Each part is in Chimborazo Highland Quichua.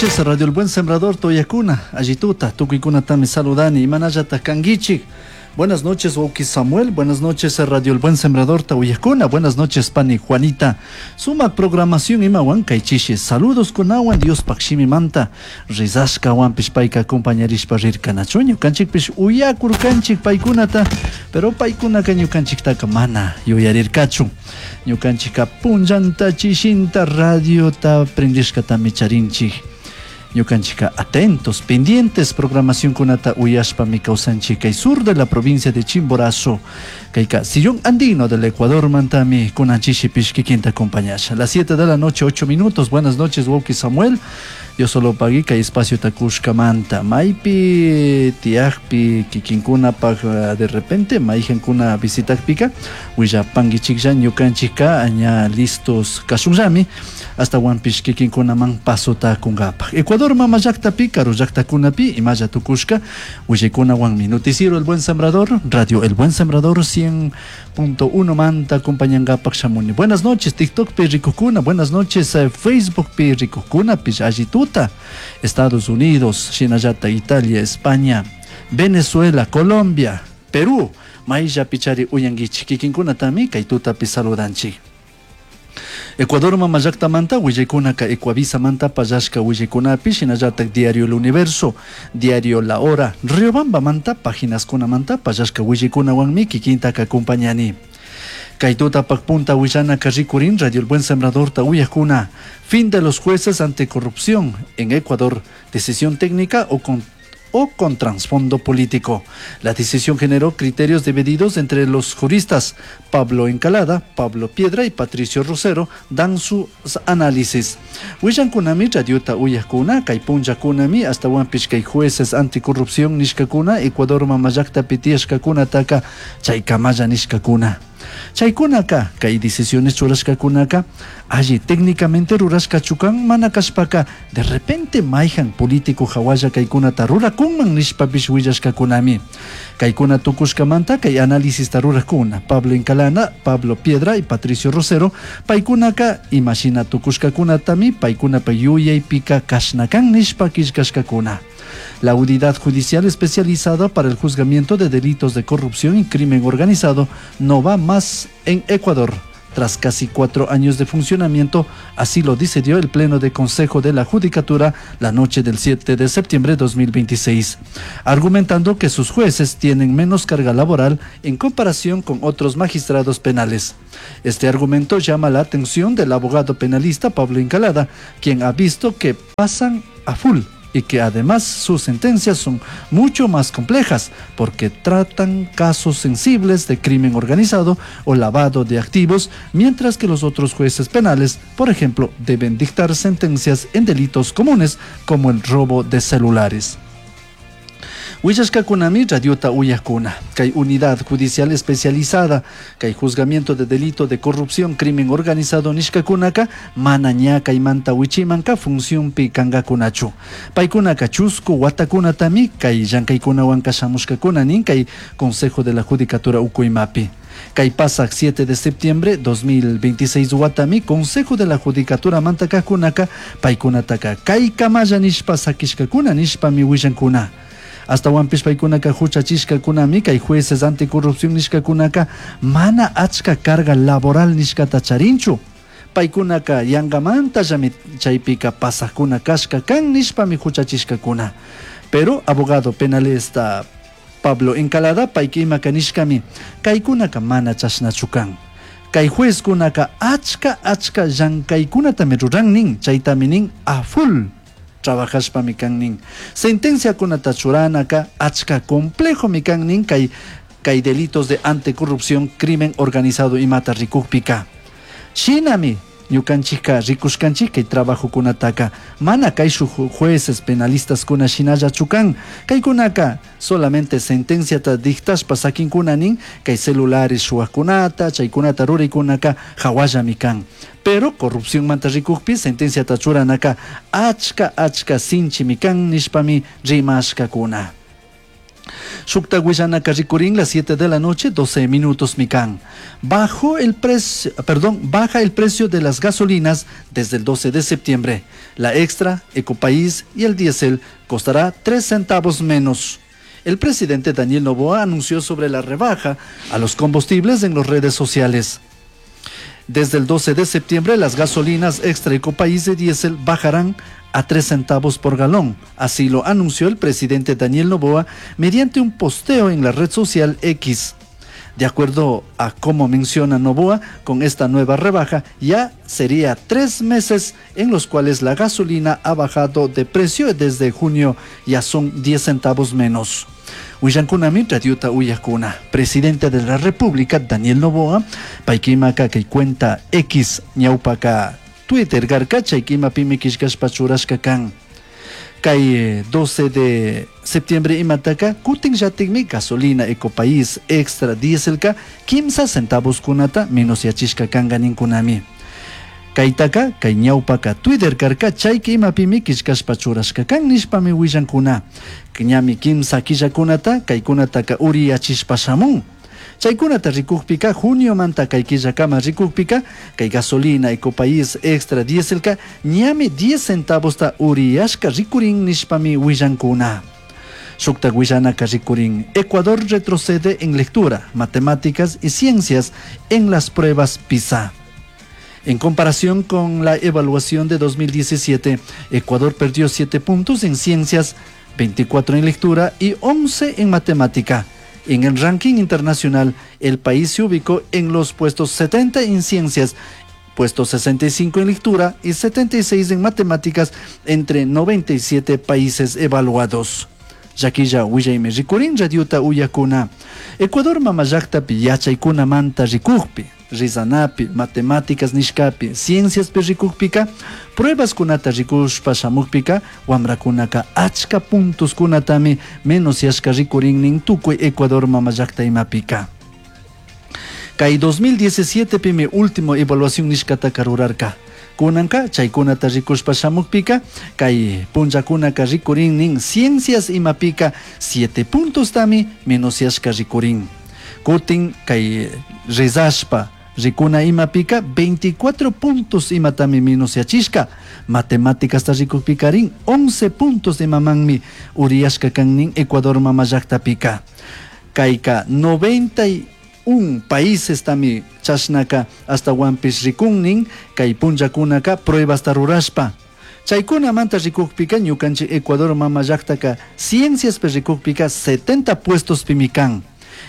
Noches, Radio El Buen Sembrador, Toyacuna, Allituta, tukuykunatami saludani, imanallata kanguichik. Buenas noches, wawki Samuel. Buenas noches, Radio El Buen Sembrador, Tauyacuna. Buenas noches, Pani Juanita. Suma programación imawan kay chishi. Saludos kunawan Diospaj shimimanta. Rizashkawanpish payka acompañarishpa rirkanachu. Ñukanchikpish uyakurkanchik paykunata, pero paykunaka ñukanchiktaka mana yuyarirkachu. Ñukanchikka punllanta chishinta radiota prendishkatami charinchik. Ñukanchikka atentos, pendientes programacionkunata uyashpami kawsanchik kay sur de la provincia de Chimborazo. Kayka sillón andino del Ecuador mantami kunan chishipish kikinta acompañasha. Las 7 de la noche, 8 minutos. Buenas noches, wawki Samuel. Dios solo pagui kay espaciota kushkamanta. Maypi tiyakpi kikinkunapaj de repente mayjankuna visitakpika willapankichiklla ñukanchikka ña listos kashunllami astawanpish kikinkunaman pasota kunkapaj. Ecuador mama llaktapi, karu llaktakunapi imalla tukushka willaykunawanmi Noticiero El Buen Sembrador, Radio El Buen Sembrador 100.1 manta acompañankapak shamuni. Buenas noches, TikTok pi rikukuna, buenas noches, Facebook pi rikukuna, pish allituta, Estados Unidos, shinallata Italia, España, Venezuela, Colombia, Perú, mayllapichari uyankichik kikinkunatami kay tutapi saludanchik. Ecuador mama llaktamanta willaykunaka Ecuavisamanta pallashka willaykunapi shinallatak Diario El Universo, Diario La Hora, Riobambamanta paginaskunamanta pallashka willaykunawanmi kikintaka acompañani. Kay tutapak punta willanaka rikurin Radio El Buen Sembradorta uyakuna, fin de los jueces ante corrupción en Ecuador, decisión técnica o con trasfondo político. La decisión generó criterios divididos entre los juristas. Pablo Encalada, Pablo Piedra y Patricio Rosero dan sus análisis. Willankunami radiota uyakuna, kay punllakunami, astawanpish kay jueces anticorrupción nishkakuna, Ecuador mama llaktapi tiyashkakunataka chaykamalla nishkakuna. Chaykunaka, kay decisiones churashkakunaka, alli técnicamente rurashkachu kan mana kashpaka, de repente mayjan político hawalla kaykunata rurakunman nishpapish willashkakunami. Kaykuna tukushkamanta kay análisista rurakuna, Pablo Encalada, Pablo Piedra y Patricio Rosero, paykunaka imashina tukushkakunatami paykunapa yuyaypika kashna kan nishpa killkashkakuna. La unidad judicial especializada para el juzgamiento de delitos de corrupción y crimen organizado no va más en Ecuador. Tras casi 4 años de funcionamiento, así lo decidió el Pleno de Consejo de la Judicatura la noche del 7 de septiembre de 2026, argumentando que sus jueces tienen menos carga laboral en comparación con otros magistrados penales. Este argumento llama la atención del abogado penalista Pablo Encalada, quien ha visto que pasan a full y que además sus sentencias son mucho más complejas porque tratan casos sensibles de crimen organizado o lavado de activos, mientras que los otros jueces penales, por ejemplo, deben dictar sentencias en delitos comunes como el robo de celulares. Willashkakunami radiota uyakuna, kay unidad judicial especializada, kay juzgamiento de delito de corrupción, crimen organizado nishkakunaka, mana ña kaymanta wichimanka funcionpi kangakunachu. Paykunaka chusku watakunatami kay llankaykunawanka shamushkakuna nin kay Consejo de la Judicatura ukuymapi. Kay pasak 7 de septiembre 2026 watami Consejo de la Judicatura mantakajkunaka paykunataka kay kamalla nishpa sakishkakuna nishpami willankuna. Astawanpish paykunaka huchachishkakunami kay jueces anticorrupción nishkakunaka mana achka carga laboral nishkata charinchu. Paykunaka yankamantallami chaypika pasakuna kashka kan nishpami huchachishkakuna. Pero abogado penalista Pablo Encalada payka imaka nishkami kaykunaka mana chashnachu kan. Kay juezkunaka achka achka llankaykunatami ruran nin, chaytami nin a full trabajashpami kan nin. Sentenciakunata churanaka achka complejomi kan nin kay delitos de anticorrupción, crimen organizado imata rikukpika. Shinami ñukanchikka rikushkanchik kay trabajokunataka mana kay shuk jueces penalistas kuna shinallachu kan. Kaykunaka solamente sentenciata dictashpa sakinkuna nin kay celulares shuwakunata chaykunata ruraykunaka hawallami kan. Pero corrupción manta rikukpi sentenciata churanaka achka achka sinchimi kan nishpami rimashkakuna. Shukta willanaka rikurin las 7 de la noche, 12 minutos mikan. Bajo el precio, perdón, baja el precio de las gasolinas desde el 12 de septiembre. La extra, Ecopaís y el diésel costará 3 centavos menos. El presidente Daniel Noboa anunció sobre la rebaja a los combustibles en las redes sociales. Desde el 12 de septiembre, las gasolinas extra Ecopaís de diésel bajarán a 3 centavos por galón. Así lo anunció el presidente Daniel Noboa mediante un posteo en la red social X. De acuerdo a cómo menciona Noboa, con esta nueva rebaja ya sería 3 meses en los cuales la gasolina ha bajado de precio. Desde junio ya son 10 centavos menos. Willancunami radiota uyajcuna. Presidente de la República, Daniel Noboa, paykimaka kay cuenta X ñawpaka Twitter karka chaykimapimi killkashpa churashka kan. Kay 12 de septiembre imataka kutinllatikmi gasolina Ecopaís extra dieselka 3 centavos kunata menos yachishka kanka ninkunami. Kaytaka kay ñawpaka Twitter karka chayka imapimi killkashpa churashka kan nishpami willankuna. Ñami kimsa killakunata kaykunataka uriyachishpa shamun. Chaykunata rikukpika juniomanta kay killakama rikukpika kay gasolina Ecopaís extra dieselka ñami 10 centavosta uriyashka rikurin nishpami willankuna. Shukta willanaka rikurin. Ecuador retrocede en lectura, matemáticas y ciencias en las pruebas PISA. En comparación con la evaluación de 2017, Ecuador perdió 7 puntos en ciencias, 24 en lectura y 11 en matemática. En el ranking internacional, el país se ubicó en los puestos 70 en ciencias, puesto 65 en lectura y 76 en matemáticas entre 97 países evaluados. Llaquilla willaymi rikurin radiota uyakuna. Ecuador mamallaktapi yachaykunamanta rikukpi, rizanapi, matemáticas nishkapi, cienciaspi rikukpika, pruebas kunata rikushpa shamukpika, wamrakunaka achka puntos kunatami menos yashka rikurin nin tukuy Ecuador mamallakta imapika. Kay 2017 pimi último evaluación nishkataka rurarka. Kunanka chaykunata rikushpa shamukpika kay punllakunaka rikurin nin ciencias imapika 7 puntos tami menos yashka rikurin. Kutin kay rezashpa rikuna imapika 24 puntos imatami menos yachishka. Matemáticas ta rikukpikarin 11 puntos imamanmi uriyashka kan nin Ecuador mamallakta-pika. Kayka 91 países tami chashnaka ashtawanpish rikunnin kay punllakunaka pruebas rurashpa. Chaykunamanta rikukpika ñukanchik Ecuador mamallaktaka cienciaspi rikukpika 70 puestos pimi kan.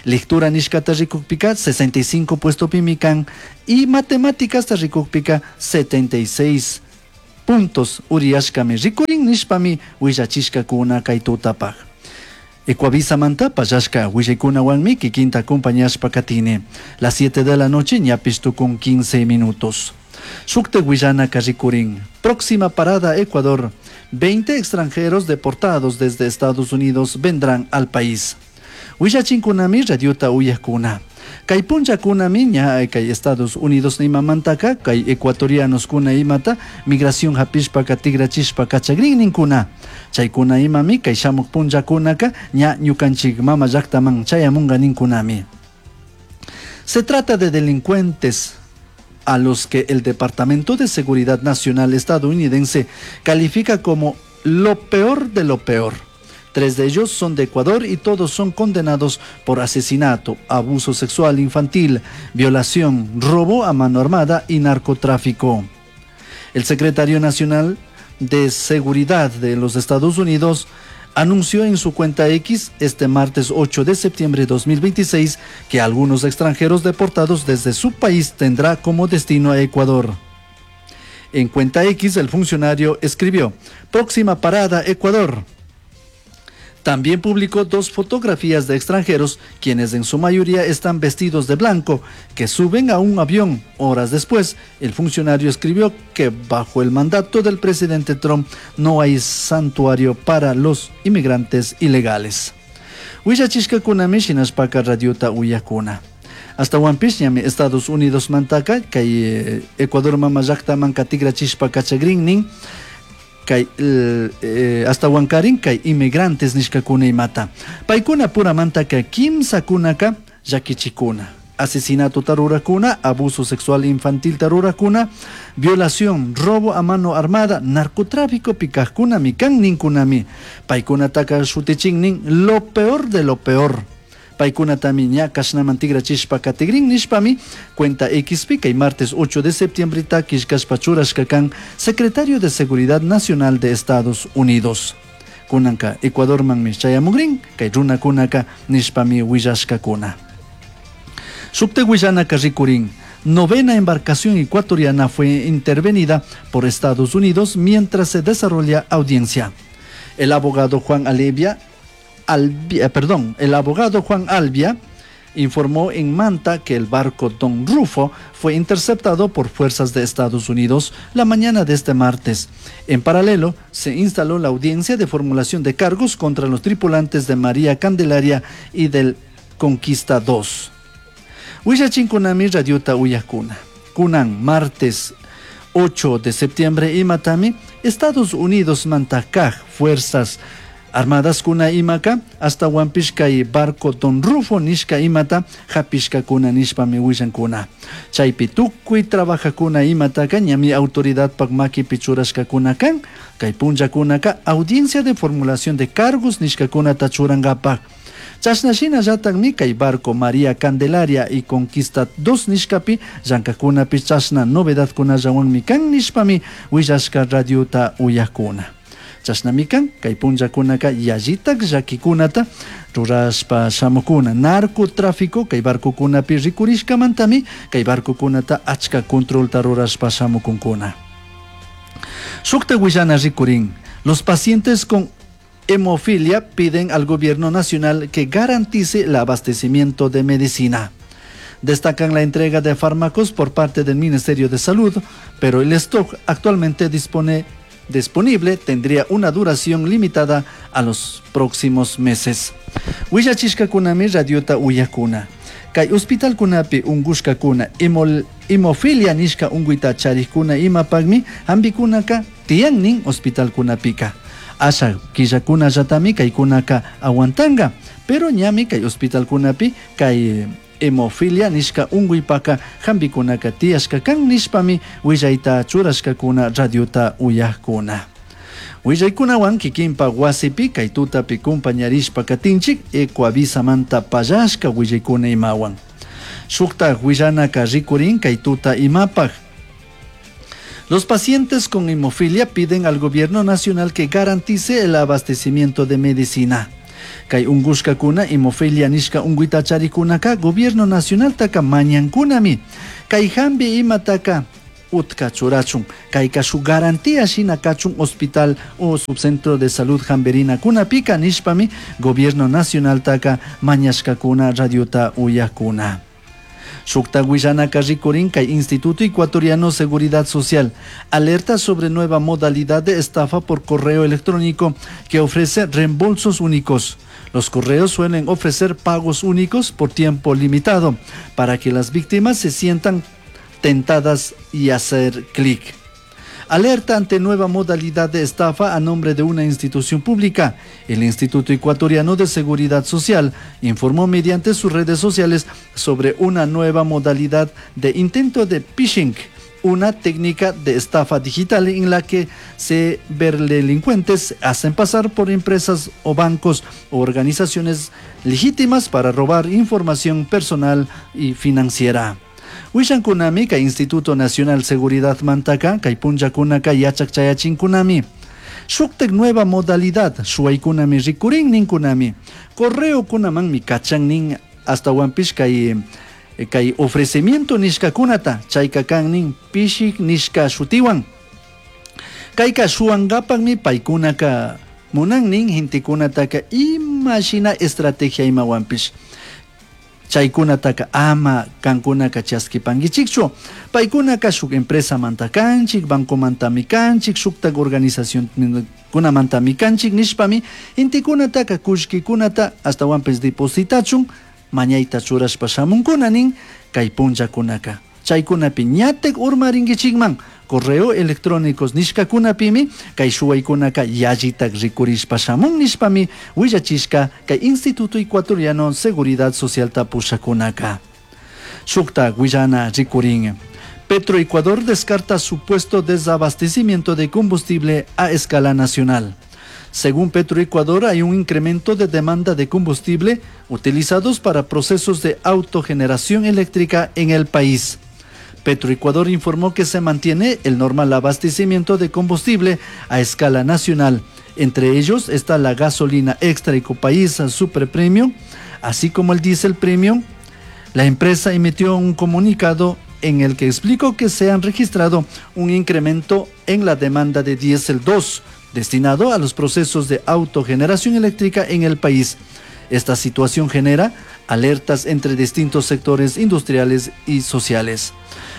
Lectura nishkata rikukpika 65 puesto pimi kan y matemáticas rikukpika 76 puntos uriyashkami rikurin nishpami willachishkakuna kay tutapaj. Ecuavisamanta pallashka willaykunawanmi kikinta acompañashpa katini. Las 7 de la noche ñapish tukun 15 minutos. Shukta willanaka rikurin. Próxima parada Ecuador. 20 extranjeros deportados desde Estados Unidos vendrán al país. Willachinkunami radiota uyajkuna. Kay punllakunami ña kay Estados Unidos nimamantaka kay ecuatorianos kuna imata migración hapishpaka tigrachishpa kachagrin ninkuna. Chaykuna imami kay shamuk punllakunaka ña ñukanchik mama llaktaman chayamunga ninkunami. Se trata de delincuentes a los que el Departamento de Seguridad Nacional estadounidense califica como lo peor de lo peor. Tres de ellos son de Ecuador y todos son condenados por asesinato, abuso sexual infantil, violación, robo a mano armada y narcotráfico. El secretario nacional de Seguridad de los Estados Unidos anunció en su cuenta X este martes 8 de septiembre de 2026 que algunos extranjeros deportados desde su país tendrá como destino a Ecuador. En cuenta X el funcionario escribió: "Próxima parada Ecuador". También publicó dos fotografías de extranjeros, quienes en su mayoría están vestidos de blanco, que suben a un avión. Horas después, el funcionario escribió que bajo el mandato del presidente Trump no hay santuario para los inmigrantes ilegales. Willachishkakunami shinashpaka radiota uyakuna. Ashtahuanpish ñami Estados Unidos mantaka kay Ecuador mama llaktaman tigrachishpa kachagrin nin. Kay ashtawankarin kay inmigrantes nishkakuna imata. Paykuna puramantaka kimsakunaka llakichikuna. Asesinato rurakuna, abuso sexual infantil rurakuna, violación, robo a mano armada, narcotráfico pikajkunami kan ninkunami. Paykunataka shutichin nin lo peor de lo peor. Paykunatami ña kashnaman tigrachishpa katigrin nishpami cuenta Xpi kay martes 8 de septiembre ta killkashpa churashka kan secretario de Seguridad Nacional de Estados Unidos. Kunanka Ecuadormanmi chayamugrin kay runakunaka nishpami willashkakuna. Shuktak willanaka rikurin. Novena embarcación ecuatoriana fue intervenida por Estados Unidos mientras se desarrolla audiencia. El abogado Juan Alevia, Albia, perdón, el abogado Juan Albia informó en Manta que el barco Don Rufo fue interceptado por fuerzas de Estados Unidos la mañana de este martes. En paralelo, se instaló la audiencia de formulación de cargos contra los tripulantes de María Candelaria y del Conquista 2. Willachinkunami radiota uyakuna. Kunan martes 8 de septiembre imatami Estados Unidos mantakaj fuerzas armadas kuna imaka ashtawanpish kay barco Don Rufo nishka imata hapishkakuna nishpami willankuna. Chaypi tukuy trabajakuna imataka ñami autoridadpak makipi churashkakuna kan kay punllakunaka audiencia de formulación de cargos nishkakunata churankapak. Chashna shinallatakmi kay barco María Candelaria y Conquista 2 nishkapi llankakkunapi chashna novedadkunallawanmi kan nishpami willashka radiota uyakuna. Chashnami kan kay punllakunaka yallitak llakikunata rurashpa shamukuna. Narcotráfico kay barcokunapi rikurishkamantami kay barcokunata achka controlta rurashpa shamukunkuna. Shukta willana rikurin. Los pacientes con hemofilia piden al gobierno nacional que garantice el abastecimiento de medicina. Destacan la entrega de fármacos por parte del Ministerio de Salud, pero el stock actualmente disponible tendría una duración limitada a los próximos meses. Willachishkakunami radiota uyakuna. Kay hospitalkunapi unkushkakuna hemofilia nishka unkuyta charikuna imapakmi hampikunaka tiyan nin hospitalkunapika. Asha killakunallatami kaykunaka aguantanga, pero ñami kay hospitalkunapi kay hemofilia nishka unkuypaka hampikunaka tiyashka kan nishpami willayta churashkakuna radiota uyakuna. Willaykunawan kikinpa wasipi kay tutapi kumpañarishpa katinchik Ecuavisamanta pallashka willaykuna imawan. Shuktak willanaka rikurin kay tuta imapak. Los pacientes con hemofilia piden al gobierno nacional que garantice el abastecimiento de medicina. Kay unkushkakuna hemofilia nishka unkuyta charikunaka gobierno nacional taka mañankunami. Kay hambi imataka utka churachun. Kayka shuk garantía shina kachun hospital o subcentro de salud hamberina kunapika nishpami gobierno nacional taka mañashkakuna radiota uyakuna. Shukta willanaka rikurin kay Instituto Ecuatoriano Seguridad Social alerta sobre nueva modalidad de estafa por correo electrónico que ofrece reembolsos únicos. Los correos suelen ofrecer pagos únicos por tiempo limitado para que las víctimas se sientan tentadas y hacer clic. Alerta ante nueva modalidad de estafa a nombre de una institución pública. El Instituto Ecuatoriano de Seguridad Social informó mediante sus redes sociales sobre una nueva modalidad de intento de phishing, una técnica de estafa digital en la que ciberdelincuentes hacen pasar por empresas o bancos o organizaciones legítimas para robar información personal y financiera. Wishankunami kay Instituto Nacional Seguridad Mantaka, kay punllakunaka yachak chayachinkunami. Shuktak nueva modalidad, shuwaykunami rikurin ninkunami. Correo kunamanmi kachan nin ashtawanpish kay ofrecimiento nishkakunata, chayka kan nin phishing nishka shutiwan. Kayka shuwankapakmi paykunaka munan nin gentekunataka ima shina estrategia imawanpish. Chaykunataka ama kankunaka chaskipankichikchu. Paykunaka shuk empresamanta kanchik, bancomantami kanchik, shuktak organización kunamantami kanchik nishpami gentekunataka kullkikunata ashtawanpish depositachun mañayta churashpa shamunkuna nin kay punllakunaka. Chaicunapi ñataj urmaringuichijman. Correo electrónicos nishcacunapimi kay shuwaykunaka yallitak rikurishpa shamun nishpami willachishka kay Instituto Ecuatoriano Seguridad Socialta pushakunaka. Shukta willana rikurin. Petroecuador descarta supuesto desabastecimiento de combustible a escala nacional. Según Petroecuador, hay un incremento de demanda de combustible utilizados para procesos de autogeneración eléctrica en el país. Petroecuador informó que se mantiene el normal abastecimiento de combustible a escala nacional. Entre ellos está la gasolina extra Ecopaís Super Premium, así como el diésel premium. La empresa emitió un comunicado en el que explicó que se han registrado un incremento en la demanda de diésel 2 destinado a los procesos de autogeneración eléctrica en el país. Esta situación genera alertas entre distintos sectores industriales y sociales.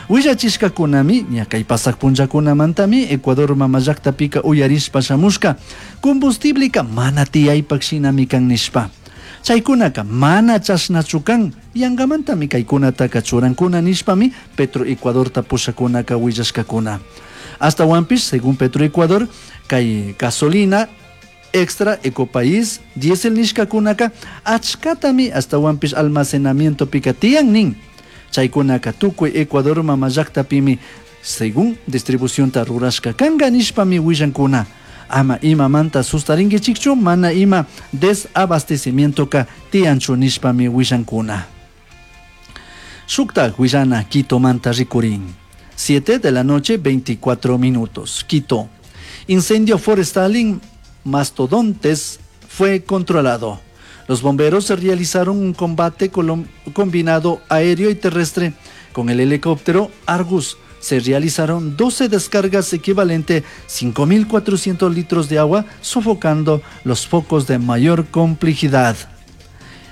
Willachishkakunami, ña kay pasaj punllakunamantami, Ecuador mama llaktapika uyarishpa shamushka, combustibleka mana tiyaypak shinami kan nishpa. Chaykunaka mana chashnachu kan, yangamantami kaykunataka churankuna nishpami Petroecuadorta pushakunaka willashkakuna. Ashtahuanpish, según Petroecuador, kay gasolina extra Ecopaís diésel nishkakunaka achkatami ashtahuanpish almacenamientopika tiyan nin. Chaykunaka tukuy Ecuador mama llaktapimi según distribucionta rurashka kanga nishpami willankuna. Ama imamanta sustaringuichikchu, mana ima desabastecimientoka tiyanchu nishpami willankuna. Shukta willana Quitomanta rikurin. 7 de la noche, 24 minutos. Quito. Incendio forestal en Mastodontes fue controlado. Los bomberos realizaron un combate combinado aéreo y terrestre con el helicóptero Argus. Se realizaron 12 descargas equivalente a 5.400 litros de agua, sofocando los focos de mayor complejidad.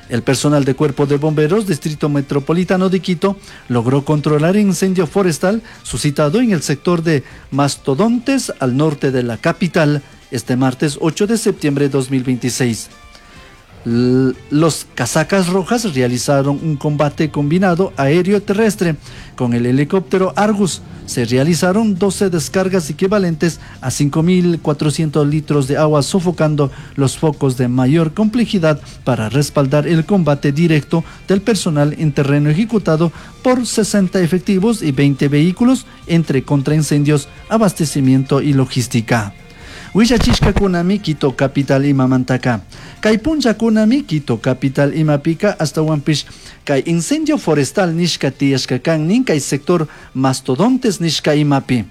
El personal de Cuerpo de Bomberos Distrito Metropolitano de Quito logró controlar el incendio forestal suscitado en el sector de Mastodontes, al norte de la capital, este martes 8 de septiembre de 2026. Los casacas rojas realizaron un combate combinado aéreo-terrestre con el helicóptero Argus. Se realizaron 12 descargas equivalentes a 5.400 litros de agua, sofocando los focos de mayor complejidad para respaldar el combate directo del personal en terreno ejecutado por 60 efectivos y 20 vehículos entre contraincendios, abastecimiento y logística. Willachishkakunami Quito capital imamantaka. Kay punllakunami Quito capital imapika ashtahuanpish kay incendio forestal nishka tiyashka kan nin kay sector Mastodontes nishka imapi.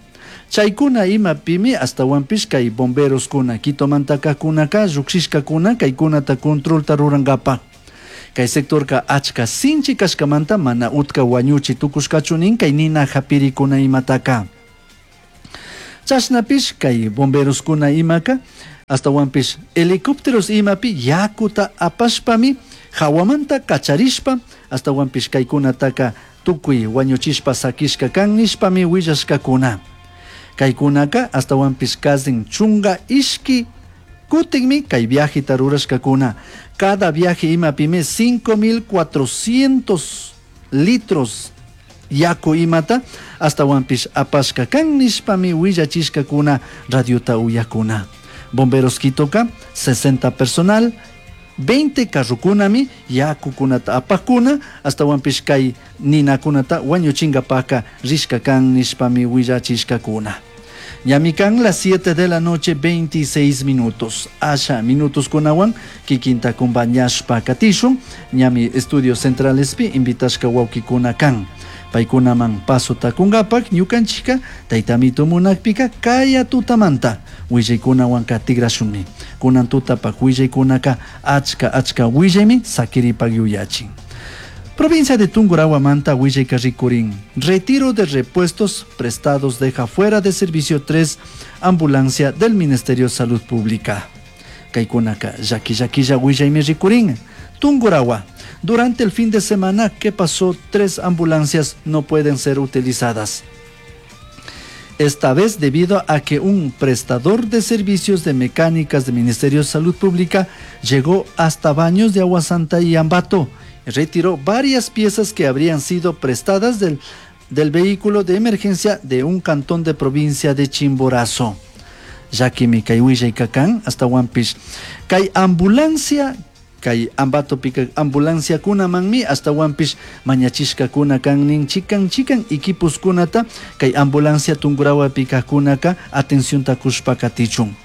Chaykuna imapimi ashtahuanpish kay bomberoskuna Quitomantakakkunaka llukshishkakuna kaykunata controlta rurankapa. Kay sectorka achka sinchi kashkamanta mana utka wañuchi tukushkachu nin kay nina hapirikuna imataka. Chashnapish kay bomberoskuna imaka ashtahuanpish helicópteros imapi yakuta apashpami hawamanta kacharishpa ashtahuanpish kaykunataka tukuy wañuchishpa sakishka kan nishpami willashkakuna. Kaykunaka ashtahuanpish kazin chunga ishki kutinmi kay viajeta rurashkakuna. Cada viaje imapimi 5.400 litros yaku imata ashtahuanpish apashka kan nishpami willachishkakuna radiota uyakuna. Bomberos Quitoka 60 personal, 20 carrukunami yakukunata apakuna ashtahuanpish kay ninakunata wañuchinkapaka rishka kan nishpami willachishkakuna. Ñami kan las 7 de la noche 26 minutos. Asha minutos kunawan kikinta kumpañashpa katishun. Ñami estudios centralespi invitashka wawkikuna kan. Paykunaman pasota kunkapak ñukanchika taytamito munakpika kaya tutamanta willaykunawanka tigrashunmi. Kunan tutapak willaykunaka achka achka willaymi sakiripak yuyachin. Provincia de Tungurahua willayka rikurin. Retiro de repuestos prestados deja fuera de servicio 3 ambulancia del Ministerio de Salud Pública. Kaykunaka llaki llakilla willaymi rikurin. Tungurahua. Durante el fin de semana que pasó, 3 ambulancias no pueden ser utilizadas. Esta vez debido a que un prestador de servicios de mecánicas del Ministerio de Salud Pública llegó hasta Baños de Agua Santa y Ambato. Retiró varias piezas que habrían sido prestadas del del vehículo de emergencia de un cantón de provincia de Chimborazo. Llaquimi kay willayka kan, ashtahuanpish kay ambulancia kay Ambatopika ambulanciakunamanmi ashtahuanpish mañachishkakuna kan nin chikan chikan equiposkunata kay ambulancia Tungurahuapi kajkunaka atencionta kushpa katichun.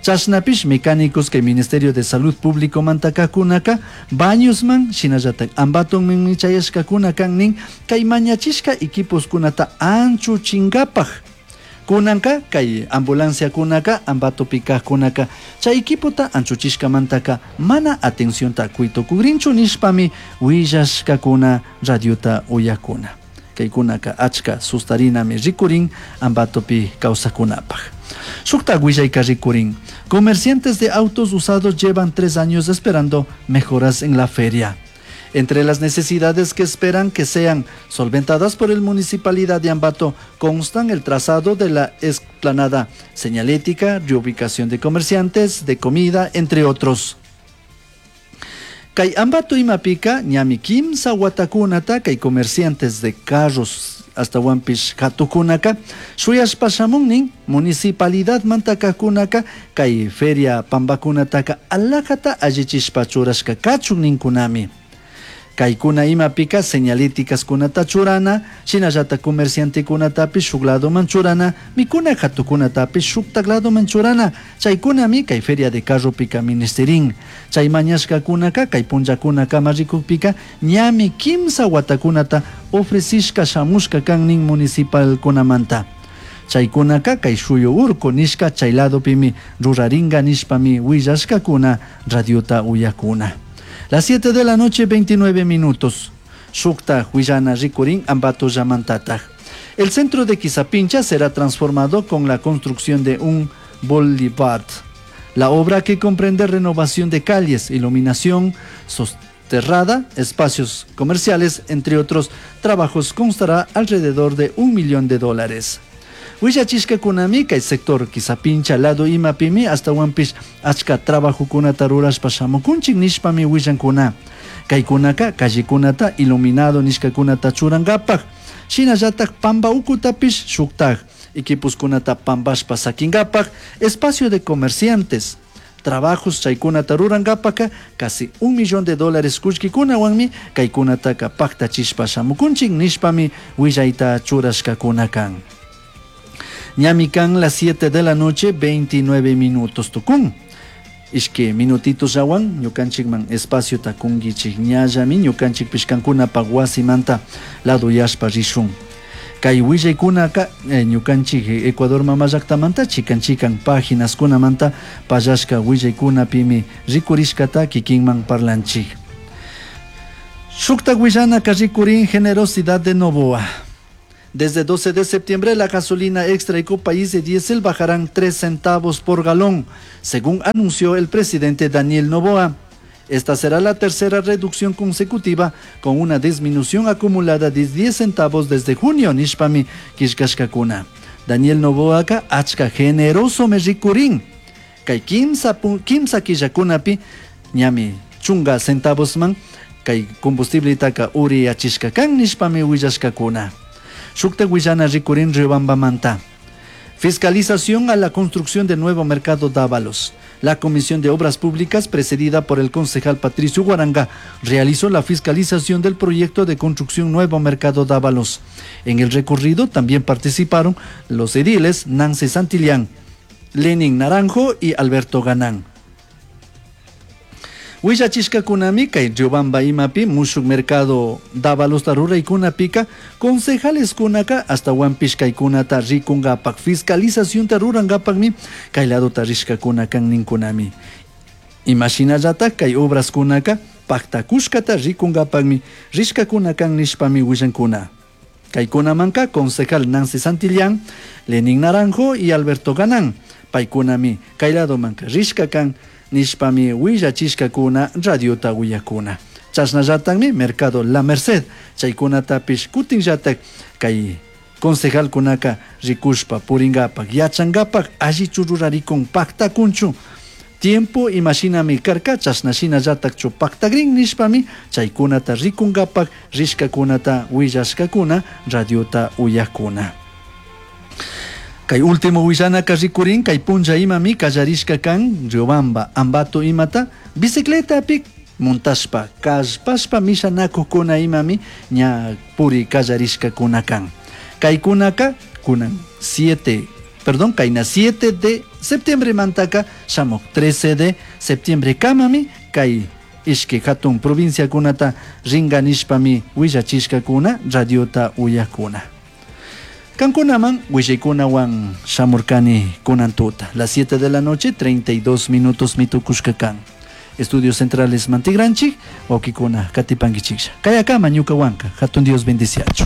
Chashnapish mecánicos kay Ministerio de Salud Públicomanta kajkunaka Bañosman shinallatak Ambatonmanmi chayashkakuna kan nin kay mañachishka equiposkunata anchuchinkapak. Kunanka kay ambulanciakunaka Ambatopi kajkunaka chay equipota anchuchishkamantaka mana atencionta kuy tukugrinchu nishpami willashkakuna radiota uyakuna. Kaykunaka achka sustarinami rikurin Ambatopi kawsakunapaj. Shuktak willayka rikurin. Comerciantes de autos usados llevan 3 años esperando mejoras en la feria. Entre las necesidades que esperan que sean solventadas por el Municipalidad de Ambato constan el trazado de la explanada señalética, reubicación de comerciantes, de comida, entre otros. Kay Ambato imapika ñami kimsa watakunata kay comerciantes de carros ashtahuanpish katukunaka shuyashpa shamun municipalidad mantakakunaka kay feria pambakunataka alajata allichishpa churashka kachun ninkunami. Kaykuna imapika señalíticaskunata churana, shinallata comerciantekunatapish shuk ladoman churana, mikuna katukunatapish shuktak ladoman churana, chaykunami kay feria de carropika ministerin. Chay mañashkakunaka kay punllakunakama rikukpika ñami kimsa watakunata ofrecishka shamushka kan nin municipalkunamanta. Chaykunaka kay shuyu urku nishka chay ladopimi ruraringa nishpami willashkakuna radiota uyakuna. Las 7 de la noche, 29 minutos. Shukta huillana rikurin Ambato llamantataj. El centro de Quisapincha será transformado con la construcción de un boulevard. La obra, que comprende renovación de calles, iluminación soterrada, espacios comerciales, entre otros trabajos, constará alrededor de 1 millón de dólares. Willachishkakunami kay sector Quisapincha lado imapimi ashtahuanpish achka trabajokunata rurashpa shamukunchik nishpami willankuna. Kaykunaka callekunata iluminado nishkakunata churankapak. Shinallatak pamba ukutapish shuktak equiposkunata pambashpa sakinkapak, espacio de comerciantes, trabajos chaykunata rurankapaka casi 1 millón de dólares kullkikunawanmi kaykunataka paktachishpa shamukunchik nishpami willayta churashkakuna kan. Ñami kan las 7 de la noche 29 minutos tukun. Ishki minutitos llawan ñukanchikman espaciota kunkichik ñallami ñukanchikpish kankunapak wasimanta lado yashpa rishun. Kay willaykunaka ñukanchik Ecuador mama llaktamanta chikan chikan páginas-kunamanta pallashka willaykunapimi rikurishkata kikinman parlanchik. Shuktak willanaka rikurin generosidad de Novoa. Desde 12 de septiembre la gasolina extra Ecopaís de diésel bajarán 3 centavos por galón, según anunció el presidente Daniel Noboa. Esta será la tercera reducción consecutiva con una disminución acumulada de 10 centavos desde junio, nishpami killkashkakuna. Daniel Noboaka achka generoso me rikurin. Kay kimsa killakunapi ñami chunga centavos man kay combustibletaka uriyachishka kan nishpami willashkakuna. Shukta willana rikurin Riobambamanta. Fiscalización a la construcción del nuevo mercado Dávalos. La Comisión de Obras Públicas, precedida por el concejal Patricio Guaranga, realizó la fiscalización del proyecto de construcción Nuevo Mercado Dávalos. En el recorrido también participaron los ediles Nancy Santillán, Lenin Naranjo y Alberto Ganán. Willachishkakunami kay Riobamba imapi mushuk mercado Dávalos ruraykunapika concejales kunaka ashtahuanpish kaykunata rikungapak fiscalización rurankapakmi kay ladota rishkakuna kan ninkunami. Imashinallatak kay obras kunaka paktakushkata rikunkapakmi rishkakuna kan nishpami willankuna. Kaykunamanka concejal Nancy Santillán, Lenin Naranjo y Alberto Ganán paykunami kay ladomanka rishka kan nishpami willachishkakuna radiota uyakuna. Chashnallatakmi Mercado La Merced chaykunatapish kutinllatak kay concejalkunaka rikushpa puringapak yachangapak allichu rurarikun paktakunchu. Tiempo imashinami karka chashna shinallatakchu paktagrin nishpami chaykunata rikunkapak rishkakunata willashkakuna radiota uyakuna. Kay último willanaka rikurin kay punlla imami kallarishka kan Riobamba Ambato imata bicicletapi montashpa kallpashpa mishanakukuna imami ña puri kallarishkakuna kan. Kaykunaka kunan 7 perdón kayna 7 de septiembre mantaka shamuk 13 de septiembre kamami kay ishki hatun provinciakunata ringa nishpami willachishkakuna radiota uyakuna. Kankunaman willaykunawan shamurkani kunan tuta las 7 de la noche 32 minutos mitukushka kan. Estudios Centrales Mantigranchik, wawkikuna katipankichiklla. Kayakama ñuka wanka, hatun Dios bendiciachu.